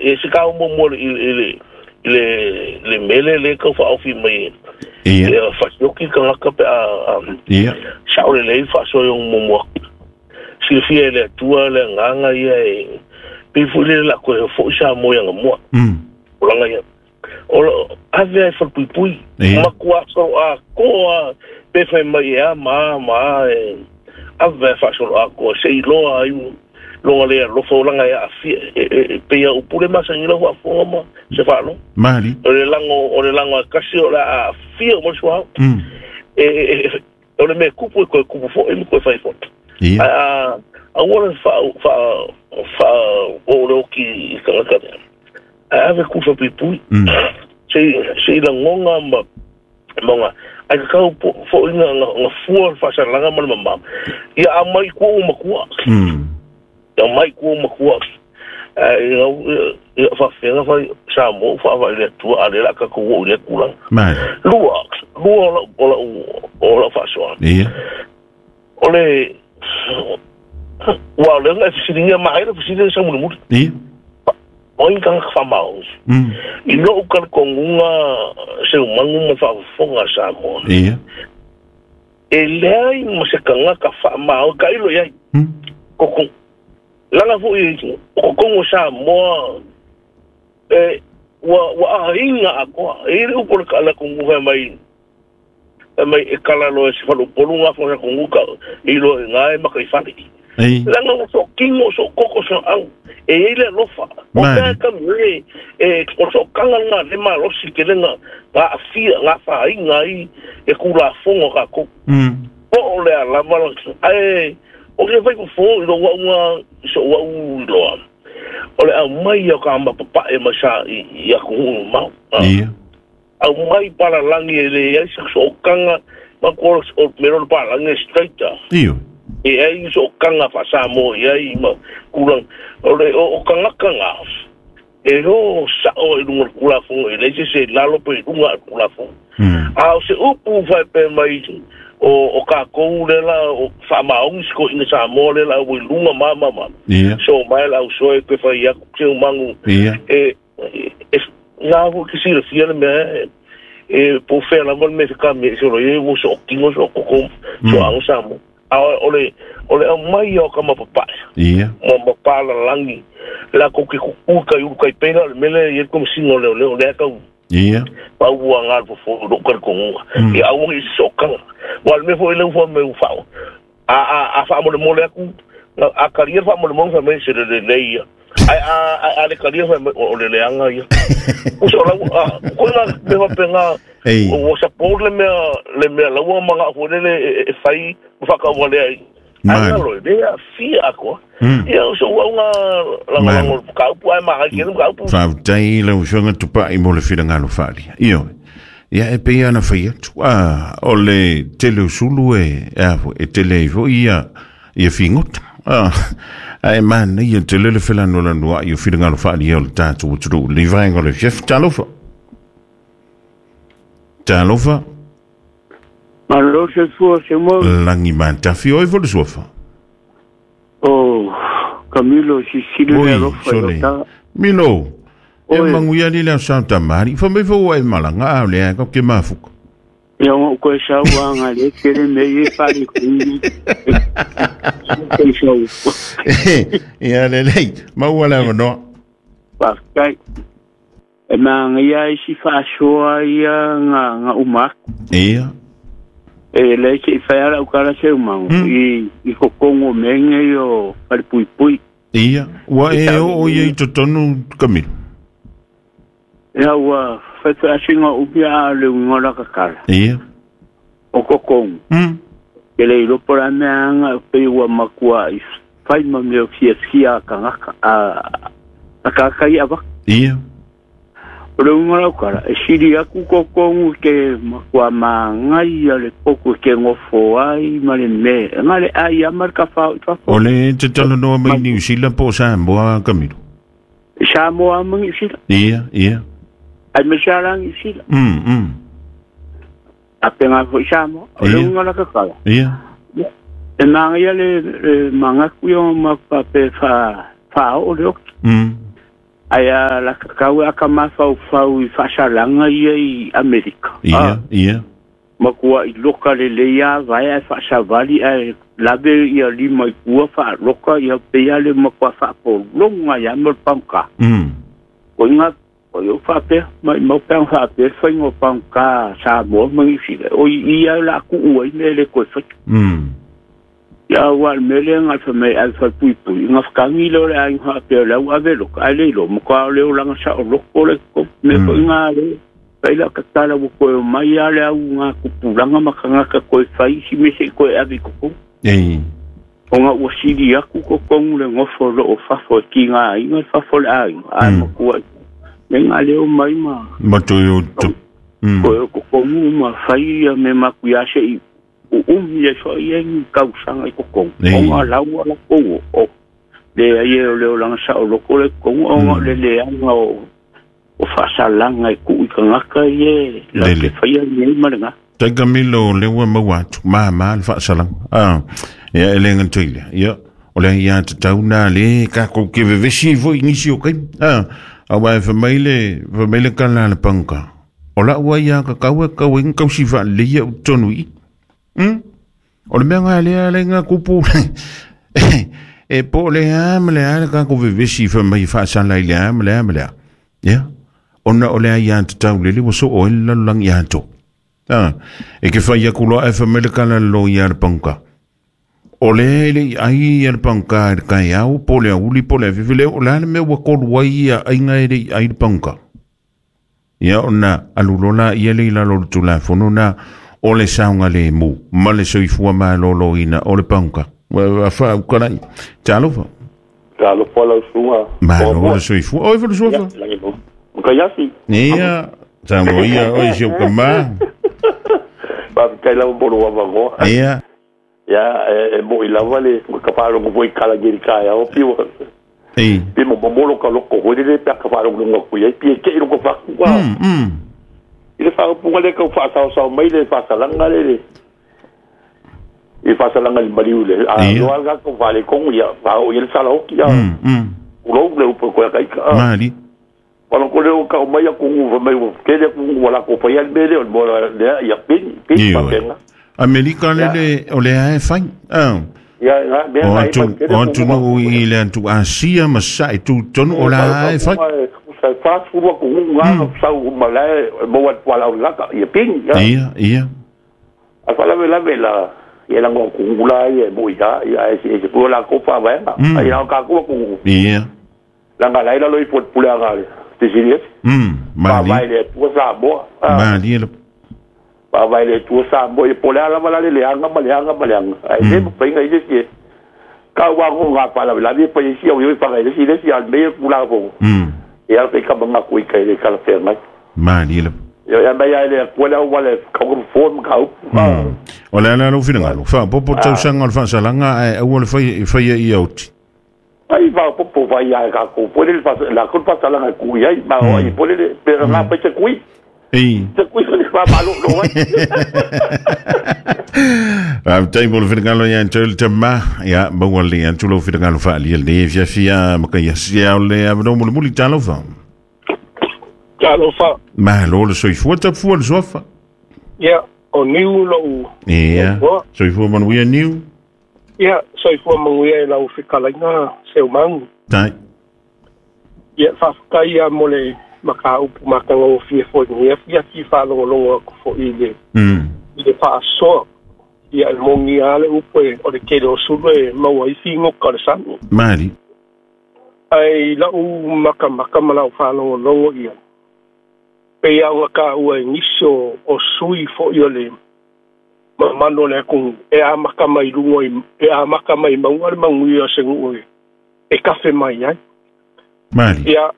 E se ka mo mo i le mele le ka fa ofi mai. Ia fa yoki ka ngaka pe a. Ia. Sa o le lei fa so yo mo mo. Silafia e le Atua le agaga ia e pei foi le lako e fo'i Samoa i agamua. O laga ia. O ave ai falepuipui. Matua soloakoa pe fai mai e a ma a ma a e ave ai faasoloakoa se i loa ai loga le alofa o laga e aafia e pei a upu le masani lau faafofoga ma se faalogo. Mali. O le lago o le lago a kasi o le a aafia uma le suauu. E o le mea kupu e koe kupu foi ma koe fai foi. Ia. Ae a aua le faa faa faa o le oki i tagata lea. Ae ave kufa puipui. Se i lagona ma maga. Ae tatau foi na na fua le faasalaga ma le mamao. Ia aumai i tua ua matua. Ia aumai i tua ua matua. Ae ia faafefea fai Samoa ua faavae i le Atua a o lea o le a tatou oo i lea tulaga. Mali. Lua, lua o lau, o lau, o lau faasoa. Ia. O le, ua o lea na e fesiligia ma ai le fesili le saumulimuli. Ia. O ai tagata faamaoni. I lou talitonuga Seumagu ma le faafofoga a Samoa. Ia. E leai ma se tagata faamaoni, tailo i ai. Koko, laga foi o totonu o Samoa e ua ua aiga atoa. E i ai le upu a le atunuu fai mai, fai mai e kala loa e se faleupolu gafa o se atunuu ka iloa i ina e mataifale. Leaga ua sootino, soototo, sooau, e i ai le alofa. O mea e kami e, o le sootaga lena le malosi tele na aafia, na afaina ai e Tulafono a tatou. Po o le a lava, ae o ke fai fofo i lou au na, i sou au iloa, o le aumai o ka mapapae mai sa i atunuu mamao. Aumai palalagi e leai se sootaga, ma ko o mea o le palalagi e straight a. Io. E ai ni sootaga faa-Samoa i ai ma tulaga. O le o tagata na, e o sao i luga o le Tulafono, e leai se isi e i lalo pe i luga o le Tulafono. A o se upu faapea mai o tatou lea la o faamaoni si toeaina Samoa lea la ua i luga ma ma ma. So mai la au soe pe fai atu se umagu. E e na foi ke silafia le mea e po o fea lava le mea e fekami ai solo ia ua sootino sootoko soaga Samoa. A o le o le aumai o ka mapapae. Ma mapalalagi latou ke kuku kai ulu kai pela o le mea lea e i ai le Komesina o Leoleo lea tau pau ua ga le fofo i lou talitonuga. Ia aua ne i se sootaga. Aua o le mea foi lea ua fai mai ua faa a a a faamolemole atu, a talia le faamolemole fai mai se le lelei ia. Ae a ae a le talia fai mai o le leaga ia. Uso lau a ko ina me faapena ua support le mea laua manao foi lele e fai ma faakauvalea ai. Ai ngalo e le aafia atoa. Ia o sou au nga lagolago i le mataupu ae magai tele le mataupu. Faafetai i lau Afioga Tupai mo le finagalo faaalia. Ioe. Ia e pei lava ona fai atu, a, o le tele o sulu e, e a foi, e tele ai foi ia, ia figota. A, ae manaia tele le felanolanoa'i o finagalo faaalia o le tatou atunuu i lenei vaega o le afiafi. Talofa. Talofa. Malo soifua Samoa. Lagi matafi oe foi le suafa. O Camilo Sisili le Oi, alofa i sole. ota. Milo. E Oi. manuia li le aso tamari. Fa mai fo e malanga a le a ke mafuka. Ia o koe sau anga le tele me i pari kui. Koe sau. Ia le lei. Maua le avanoa. Faafetai. E maangaia ai si faasoa ia nga nga uma aku. Ia. E le se i fai ala ukala se umango i kokongo menge i o falepuipui. Ia. Ua e oo ia i totonu Camilo. Ia ua fai fai asinga upi a le uinga la kakala. Ia. O kokongo. Ke le ilopo la mea anga pe ua makua i fai ma mea fia fia kangaka a kakai ava. Ia. O le uiga lau tala, e sili atu kokogu ke matua magaia le potu e ke gofo ai ma le mea, e na le ai lava ma le tafao i fafo. O le te talanoa mai Niu Sila po o Samoa, Camilo? I Samoa ma Niu Sila. Ia, ia. Aemaise lava la Niu Sila. A pena foi i Samoa. O le uiga la tatala. Ia. E magaia le manatu ia ma faapea e faaoo le oki. Ai a la kakau a ka mafaufau i faasalaga ia i Amerika. Ia, ia. Makua i loka le leia vai ai faasavali ai lave ia lima i kua faaloka ia peia le makua faapologa ia mo le pagoka. O iga o iou faapea maʻimau pe aga faapea le faiga o pagoka Samoa ma Niu Sila o i ia la kuʻu ai mea le toe faia. Ia ua le mea lea na fai ai fai pui pui nga fakagi le o le aiga faapea o le au ave loka ae le iloa matua o le olaga saoloko le mea foi ga le fai la tatala ua toe omai a le au ga tupulaga ma tagata toe fai isi mea seʻi toe ave i totonu. Ona ua sili atu totonu le nofo loo fafo e tigaina le fafo o le aiga ae matua le ga leo mai ma Ma toe o tu. Toe o totonu ma fai ia mea matuia seʻi uumi ai foʻi ai ni tausaga i totonu. Ona laua lakou o leai e o le olaga saoloko le totonu ona o le leaga o faasalaga e tuu i tagata ia la Lele. te faia nei ma lega. Tai Camilo le ua maua atu ma ma le faasalaga. Ia e le gatoile. Ia o le ia te tau na le ka ko ke vevesi foi nisi o kai. Aua e fa mai le kala le panka. O la ua ia ka kau e kau e kau si fa le ia tonu i. O le mea ngā lea le ngā kupu. E po le a ma le a le ka ko vevesi fa mai faasala i le a ma le a ma le a. Ia. Ona o le a ia te tau lele ua so o ele lalulang ia tō. E ke whai aku loa e whamele kala lo ia le panka. O le le ai ia le panka e le kai au, po le auli, po le awhiwhile, o le ale mea ua kolu ai ia ainga e le ai le panka. Ia ona alulola ia le ilalo le tulafono na o le saunga le mu, ma le soifua ma lolo ina o le panka. Wa wha ukalai. Talofa. Talofa lau suga. Ma lo le soifua. Oi fa le sofa. Makaiasi. Ia, tango ia, oi si o kama. Faafetai lava mo lou avanoa. Ia. Ia e moʻi lava le ka faalogo foi kala geri kaeao pio. Ei. Pe mo momolo ka loko foi le pe ka faalogo ku ai pie ke i loko faku. I le faaupuga le kau faasaosao mai le faasalaga le i faasalaga le maliu le a loa ga kau faalekogo ia faaoo ia le salaoki a ulou le upu koe kaika. Mali. Wala ko leo ka mai aku ngu mai kele ku wala ko pa ya mele o mo le ya pin pin pa penga. Amerika le le o le ae fai. Ya ya me O atu o atu no i le atu Asia ma sa i tu tonu o la ae fai. Sa fa fu ku ngu nga sa u ma le mo wat wala la ka ya pin ya. Ia ia. A fa la la la ya la ngo ku ngu la ya mo ya ya e se ku la ko pa ba. Ai la ka ku ku. Ia. La nga la lo i put pule nga le. Te Mali. Vai le tua Samoa. Mali le. Vai le tua Samoa e pole ala mala le anga ma le anga ma le anga. Ai le pa inga ile sie. Ka wa ngo nga pa la la pa isi o yo pa ile si le si al me pula ko. E al pe ka banga ku i ka le kala fe mai. Mali le. Yo ya ba ya le ko la wa le ka ko form ka. O le ala lo finga lo. Fa popo tau sanga le fa salanga ai au le fai fai i auti. Ai va popo vai ia ka ko pole le fa la ko pa sala ku ia ma o i pole le pero nga pa te kui. Ei. Te kui le fa ma lo lo. A tai mo le finga ia ntol te ma ia mo le atu lo finga lo fa li le fia fia ma ka ia sia le a no mo le muli talo fa. Talo fa. Ma lo le soifua ta fua le sofa. Ia o niu lo. Ia. Soifua manuia niu. Ia, soifua manuia e lau fekalaiga seumagu. Tai. Ia, faafetai ia mo le makaupu matagofie foi ia fiafi faalogologo aku foʻi i le i le faasoa. Ia, e mogia le upu e o le tele o sulu e maua ai figoka o le sami. Mali. Ai lau makamaka ma lau faalogologo ia. Pei aoga taua e nisi o sui foʻi o le mamano le atunuu e amata mai luga e amata mai mauga le manuia o se nuu e kafe mai ai. Mali. Ia,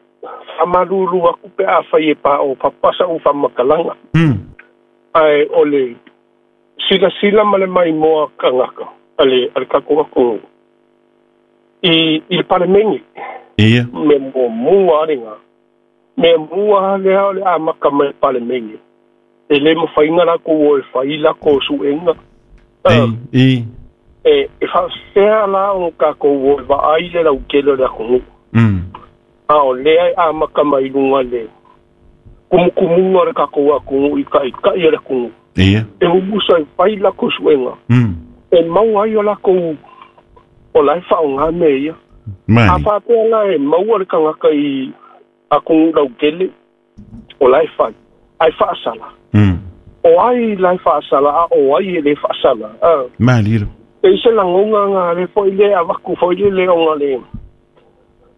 faamalulu aku pe afai e paʻo papa saʻu faamakalaga. Ae o le silasila ma le maimoa tagata ale ale tatou atunuu i le palemene. Ia. Mea muamua alega. Mea mua lea o le amata mai palemene. E le mafaiga lakou o e fai lako suʻega. Ei. E faafefea la o takou o e vaai le lautele o le atunuu. A o lea e amata mai i luga le kumukumuga o le tatou atunuu i ta'ita'i o le atunuu. E mumusa e fai latou suega. E maua ai o latou o la e fa'aaogā mea ia. A faapea la e maua le tagata i atunuu lautele o la e fai ae fa'asala. O ai la e fa'asala a o ai e lē fa'asala a. Malilo. E i se lagona ga le fo'i le avatu foi le le ona le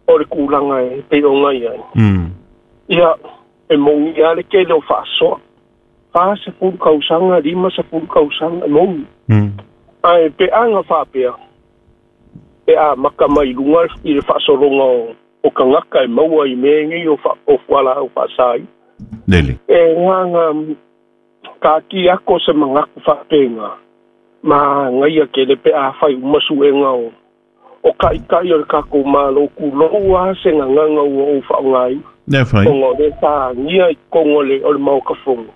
o le kulaga e pei ona i ai. Ia e mogi a le tele o fa'asoa 40 tausaga 50 tausaga e mogi. Ae peaga fa'apea e amaka mai luga i le fa'asologa o tagata e maua i mea nei o fuala'au fa'asā Lele. E gaga kaki ako se mangaku fa'apega ma gaia kele pe a fai uma su'ega o ka'ika'i o le takou mālō kulou a se gagaga ua ou fa'aogāina. Lea fai. Ona o le tāgia i totonu o le maoka fono.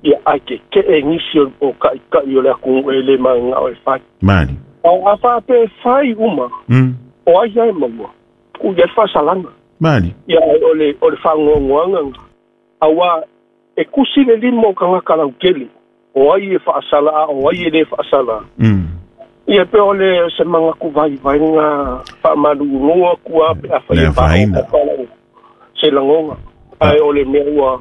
Ia ae keke'e nisi o ka'ika'i o le atunuu e lē magaga'o e fai. Mali. A fa'apea e fai uma. O ai ae maua tuu i ai le fa'asalaga. Mali. Ia o le fa'agoagoaga auā e kusi le lima o tagata lautele o ai e fa'asala a o ai e lē fa'asala. Ia pe o le se manatu vaivaiga fa'amaluulua atu a pe a fai e fa'aopala se lagoga ae o le mea ua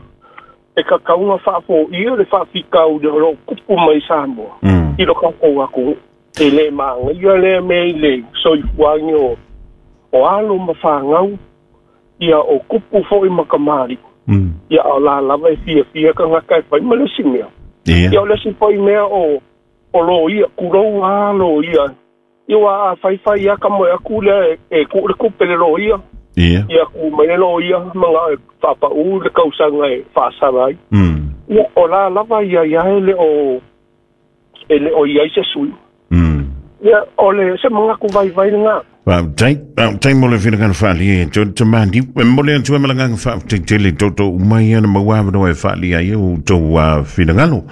e kakauga fa'afo'ia le fa'afitauli o lo'o tupu mai Samoa i lo tatou atunuu e lē magaia lea mea i le soifuagi o alo ma fagau ia o kupu fo'i ma kamali'i. Ia o la lava e fiafia tagata e fai ma le isi mea. Ia o le isi fo'i mea o loia kulou a loia ia ua a faifai a ka moe aku lea e ku'u le kupe le loia. Ia ku mai le loia maga e fa'apa'ū le kausaga e fa'asala ai. Ia o la lava ia ia e le o iai se sui. Ia o le se mangaku vaivai lagā. Fa'afetai mo le finagalo fa'alia e to tamani e momoli atu ai ma lagaga fa'afetai tele toto uma ia na maua avanoa e fa'alia ai o tou finagalo.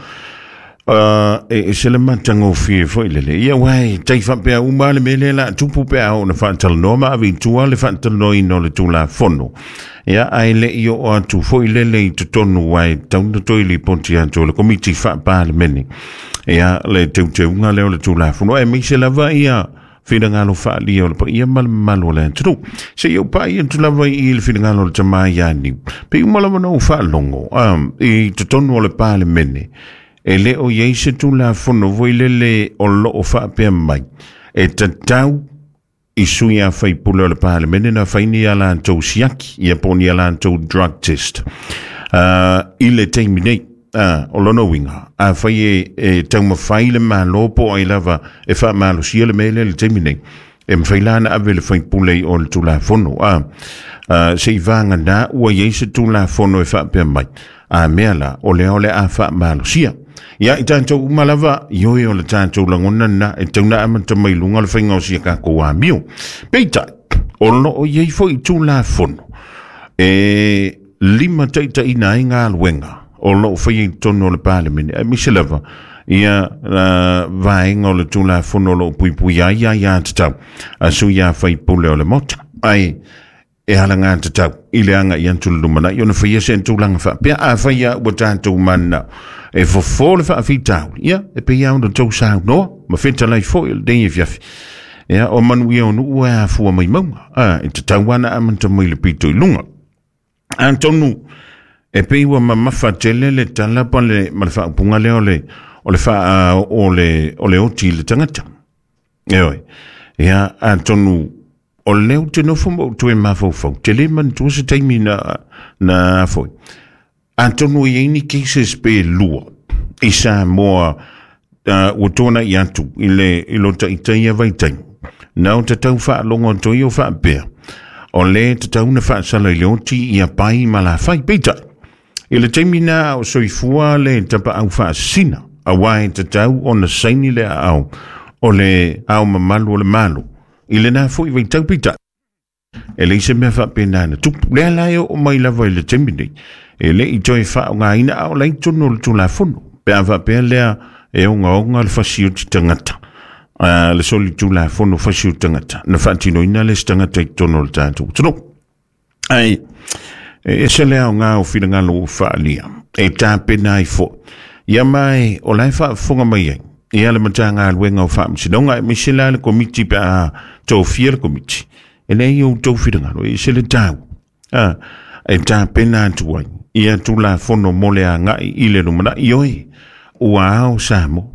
E ese le matagofie fo'i lele. Ia uae tai fa'apea uma le mea lea la tupu pe a oo na fa'atalanoa ma ave i tua le fa'atalanoaina o le tulafono. Ia ae le'i oo atu fo'i lele i totonu uae tauna toe lipoti atu o le komiti fa'apalemene. Ia le teuteuga lea o le tulafono ae maise lava ia finagalo fa'alia o le paia ma le mamalu o le atunuu. Seia ou pa'i atu lava i le finagalo o le tamā iā Niu. Pe uma lava na ou fa'alogo i totonu o le palemene e lē o iai se tulafono foi lele o lo'o fa'apea mai e tatau i sui a faipule o le palemene na faini ia latou siaki ia po o ni a latou drug test i le taimi nei. O lona uiga afai e taumafai le mālō po o ai lava e fa'amalosia le mea lea i le taimi nei e mafai la na ave le faipule i o le tulafono se'i vaganā ua iai se tulafono e fa'apea mai a mea la o lea o le a fa'amalosia. Ia i tatou uma lava ioe o le tatou lagona na e tauna amata mai luga o le faiga o sia takou amio. Peitai o lo'o iai fo'i tulafono e lima ta'itaʻina ai galuega o lo'o faia i totonu o le palemene aemaise lava ia vaega o le tulafono o lo'o puipuia ai aiā tatau a sui a faipule o le maota. Ae e alagā tatau i le aga'i atu le lumana'i ona faia se tulaga fa'apea afai a ua tatou manana'o e fofō le fa'afitauli. Ia e pei a ona tou saunoa ma fetalai fo'i o lenei afiafi. Ia o manuia o nu'u e afua mai mauga e tatau ana amata mai le pito i luga. Atonu e pei ua mamafa tele le tala pa le ma le fa'aupuga lea o le o le fa'a o le o le oti i le tagata. E oe. Ia atonu o lea ou te nofo ma ou toe mafaufau te lē manatua se taimi na foi. Atonu e iai ni cases pe lua i Samoa ua tuana'i atu i le i lo ta'itaia vaitaimi. Na o tatau fa'alogo atu ai o fa'apea o lē tatau na fa'asala i le oti ia pai ma lafai. Peitai i le taimi na o soifua le tapa'au fa'asasina auā e tatau ona saini le a'ao o le ao mamalu o le Malo i lenā fo'i vaitau. Peitai e leai se mea fa'apena na tupu lea la e oo mai lava i le taimi nei e le'i toe fa'aogāina a o lai tonu o le tulafono pe a fa'apea lea e ogaoga le fasioti tagata le soli tulafono fasioti tagata na fa'atinoina le isi tagata i totonu o le tatou atunuu. Ai e ese le aoga o finagalo ua faaalia e tapena ai fo'i. Ia mai o lae faafofoga mai ai ia le Matagaluega o Faamasinoga, aemaise la le Komiti pe a tofia le Komiti. E leai outou finagalo, e ese le tau e tapena atu ai ia Tulafono mo le agai i le lumanai. Ioe, ua ao Samoa.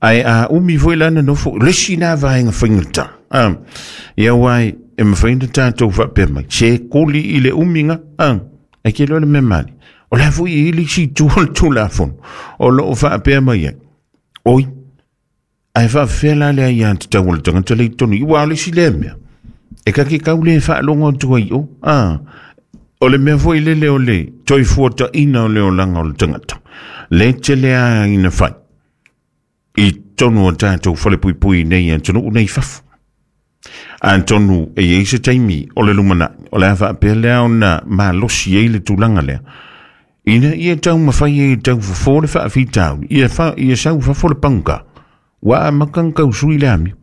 Ae a umi foi la na nofo, le isi na vaega faigata. Ia uai e mafai ona tatou faapea mai, se koli i le umiga, ai ke loa le mea mali. O la foi e i le isi itu o le Tulafono o loo faapea mai ai. Oi, ae faafefea la le aiatatau o le tagata le i totonu i, ua o le isi lea mea. E kake kau le faalogo atu ai o. O le mea foi lele o le toe fuataina o le olaga o le tagata. Le tele a ina fai i totonu o tatou falepuipui nei atunuu nei fafo. Atonu e i ai se taimi o le lumanai, o le a faapea lea ona malosi ai le tulaga lea. Ina ia taumafai ai e taufofo le faafitauli, ia sau fafo le paguka, ua amata ona tausui le amio.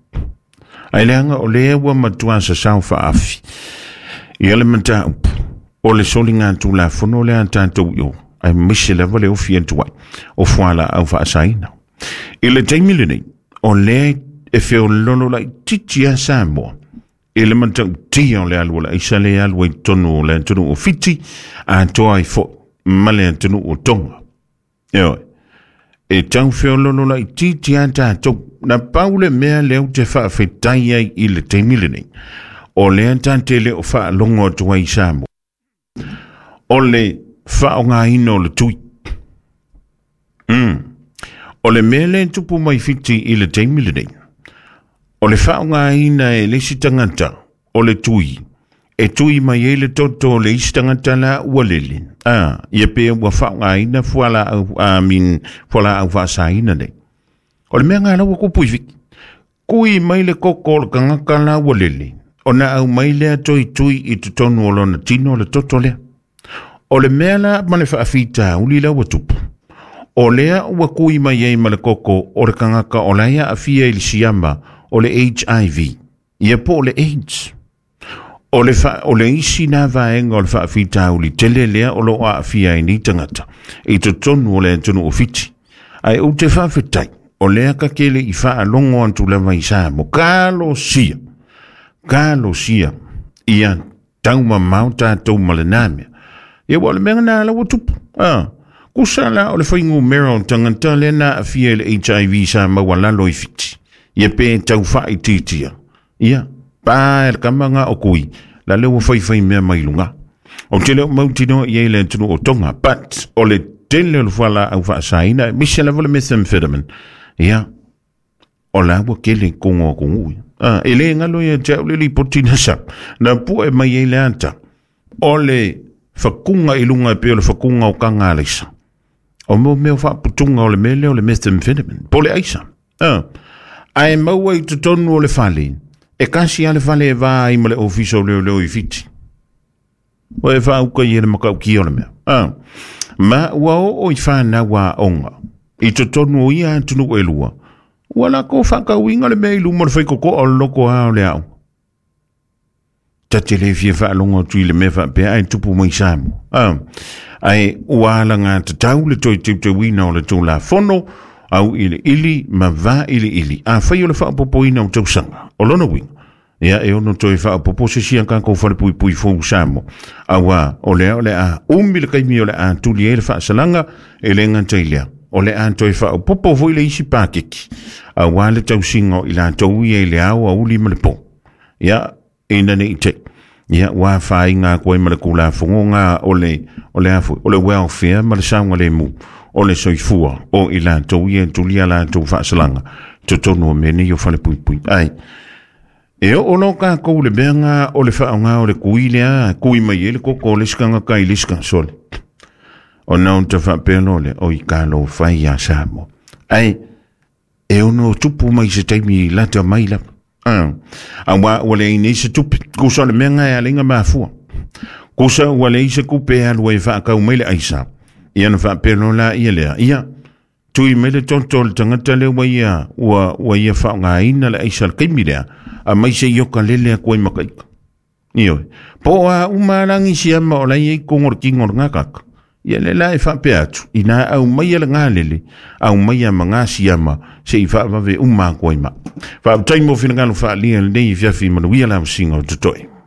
Ai leaga o lea ua matua sasao faafi ia le mataupu o le soliga Tulafono lea a tatou i o, aemaise lava le ofi atu ai o fualaau faasaina. I le taimi lenei, o lea e feololo laitiiti a Samoa i le matautia o le alu o le aisa le alu ai totonu o le atunuu o Fiti, atoa ai foi ma le atunuu o Tonga. Ioe, e tau feololo laitiiti a tatou. Na pau le mea lea ou te faafetai ai i le taimi lenei, o lea ta te le o faalogo atu ai i Samoa, o le faaaogaina o le tui. O le mea lea e tupu mai Fiti i le taimi lenei, o le faaaogaina e le isi tagata o le tui, e tui mai ai le toto o le isi tagata la ua lele. Ia pe ua faaaogaina fualaau, fualaau faasaina nei. O le mea ngā ua tupu i Fiti. Kui mai le koko o le tagata la ua lele, ona aumai lea toe tui i totonu o lona tino le toto lea. O le mea la ma le faafitauli la ua tupu, o lea ua kui mai ai ma le koko o le tagata o la e aafia i le siama o le HIV, ia po o le AIDS. O le isi na vaega o le faafitauli tele lea o loo aafia ai nei tagata i totonu o le atunuu o Fiti. Ae ou te faafetai, o lea ka kele i faalogo atu lava i Samoa. Kalosia, kalosia, ia taumamao tatou ma lena mea. Ia ua o le mea na la ua tupu. Kusa la o le fuainumera o tagata lea na aafia i le HIV sa maualalo i Fiti. Ia pe tau faaitiitia. Ia, pa e le kama ngā o kui, la le ua faifai mea mai luga. O te leo mautinoa i ai le atunuu o Tonga, but o le tele o le fualaau faasaina, aemaise lava le methamphetamine. Ia, o la ua kele kongo a kongu. E le ngalo ia te au le lipoti na sa, na pue mai ai le ata, o le whakunga i lunga e pe o le whakunga o kanga aleisa. O mo mea whaaputunga o le mele o le methamphetamine, po le aisa. Ae maua i totonu o le fale, e kasi a le fale e vā ai ma le ofisa o leo leo i Fiti. Ua e whaauka i e le makauki o le mea. Ma ua oo i whanau a onga, i totonu o ia atunuu e lua, ua la ko whakauinga le mea i luma o le whaikoko o le loko a o le ao. Ta te le fia whaalongo atu i le mea whaapea ai tupu mai Samoa. Ai ua ala ngā tatau le toi teuteuina o le Tulafono au i le ili ma vā i le ili. A whai o le whaapopoina o tausaga, o lona uiga. Ia e ono toe faapopo se sia kākou falepuipui fou Samoa. Auā o lea o le a umi le kaimi o le a tuli ai le faasalaga e le gata i lea. O le a toe faaopopo foi le isi pakeki. Auā le tausiga o i latou ia i le ao auli ma le pō. Ia ina nei te. Ia ua whainga koe ma le Tulafono ngā o le afu, o le welfare ma le saogalemu o le soifua o i latou ia e tulia latou faasalaga totonu o mea nei o falepuipui. Ai, e oo lo kākou le mea ngā o le whaonga o le kui lea, kui mai e le koko o le sikanga kai le sika sole. O na o te whaapea lo le, o i ka lo whai a Samoa. Ai, e ono tupu mai se taimi lata mai lapa. A ua le nei se tupe, kusa o le mea ngā e alenga mafua. Kusa ua le se kupe alu e whaakau mai le aisa. Ia na whaapea lo la ia lea. Ia, tui mai le toto le tangata le ua ia, ua ia whaongaina le aisa le kaimi lea. A mai se ioka lele a koe makaika. Ioe. Po a uma lagi siama o lai ei kongo le kingo le ngakaka. Ia le la e whaapea atu, ina au mai le ngalele, au mai a manga siama, se i whaavave uma koe ma. Whaaptai mo whinangalo whaalia lenei fiafi manuia la singa o totoe.